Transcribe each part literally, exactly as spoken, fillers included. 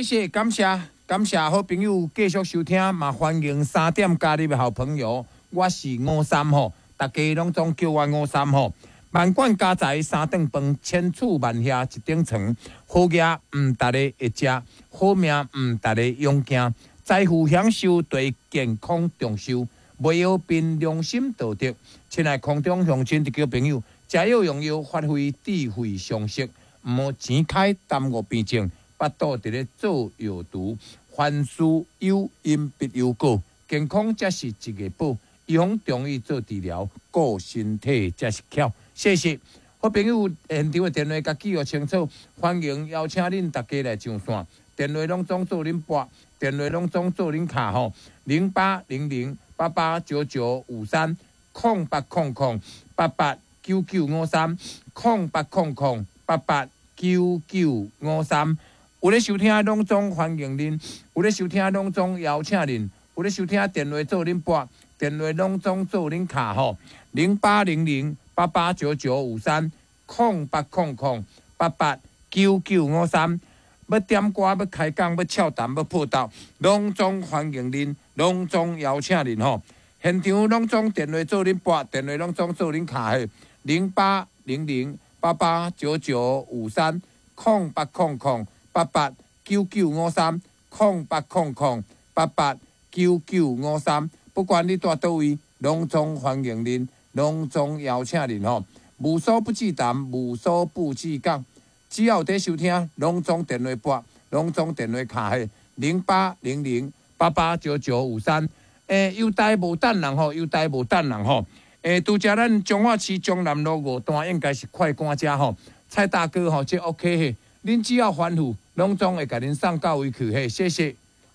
謝感謝感謝好朋友繼續收聽，嘛歡迎三點加入的好朋友，我是吳三吼，大家攏總叫我吳三吼。萬貫家財三頓飯，千厝萬額一頂床。好業毋逐个會食，好命毋逐个勇行。財富享受對健康長壽，袂曉憑良心道德。親愛空中鄉親弟朋友，食藥用藥發揮智慧常識，毋好錢開耽誤病症，腹肚佇咧做藥毒。凡事有因必有果，健康才是一个寶。預防中醫做治療，顧身體才是巧。謝謝，好朋友，現場的電話共記錄清楚，歡迎邀請恁大家來上線。電話攏總做恁撥，電話攏總做恁敲吼，零八零零八八九九五三，空八空空八八九九五三，空八空空八八九九五三。有咧收聽攏總歡迎恁，有咧收聽攏總邀請恁，有咧收聽電話做恁撥，電話攏總做恁敲吼，零八零零八八九九五三，空八空空八八九九五三。欲點歌，欲開講，欲俏談，欲報道，攏總歡迎恁，攏總邀請恁吼。現場攏總電話做恁撥，電話攏總做恁敲的，零八零零八八九九五三，空八空空八八九九五三，空八空空八八九九五三。不管你蹛佗位，攏總歡迎恁，攏總邀請恁吼。無所不至談，無所不至講。只要有佇收聽，攏總電話撥，攏總電話敲的零八零零八八九九五三。欸，郵袋無等人吼，郵袋無等人吼。欸，拄才咱彰化市中南路五段應該是快趕遮吼。蔡大哥吼，這 OK 嘿，恁只要吩咐，攏總會共恁送到位去嘿。謝謝。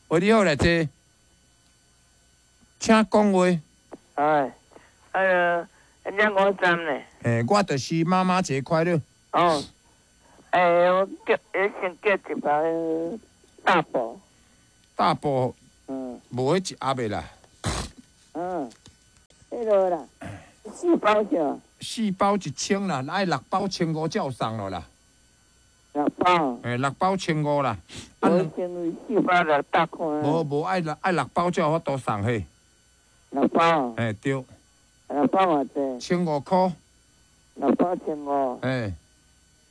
喂，你好，來坐，請講話。哎，呃，兩五三呢？欸，我就是媽媽節快樂。哦。欸，我叫，我先叫一包大寶。大寶。嗯。無彼一盒的啦。嗯。彼个啦，四包少。四包一千啦，愛六包千五才有送囉啦。六包。欸，六包千五啦。啊，四包六百塊。無無愛六愛六包才有法度送嘿。六包。欸，對。六包偌濟？千五箍。六包千五。欸。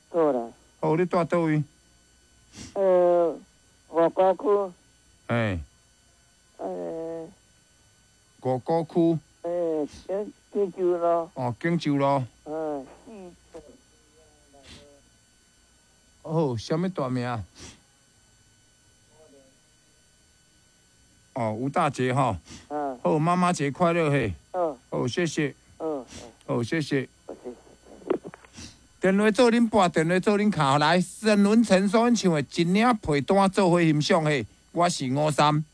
好啦。好，你蹛佗位？呃，五股區。欸。呃。五股區。欸，錦錦州路。哦，錦州路。嗯，四。好，啥物大名？哦，吳大姐吼。嗯。好，媽媽節快樂嘿。嗯。好，謝謝。嗯。好，謝謝。電話做恁撥，電話做恁敲來。沈文成所唱的《一領被單做伙欣賞》嘿，我是吳三。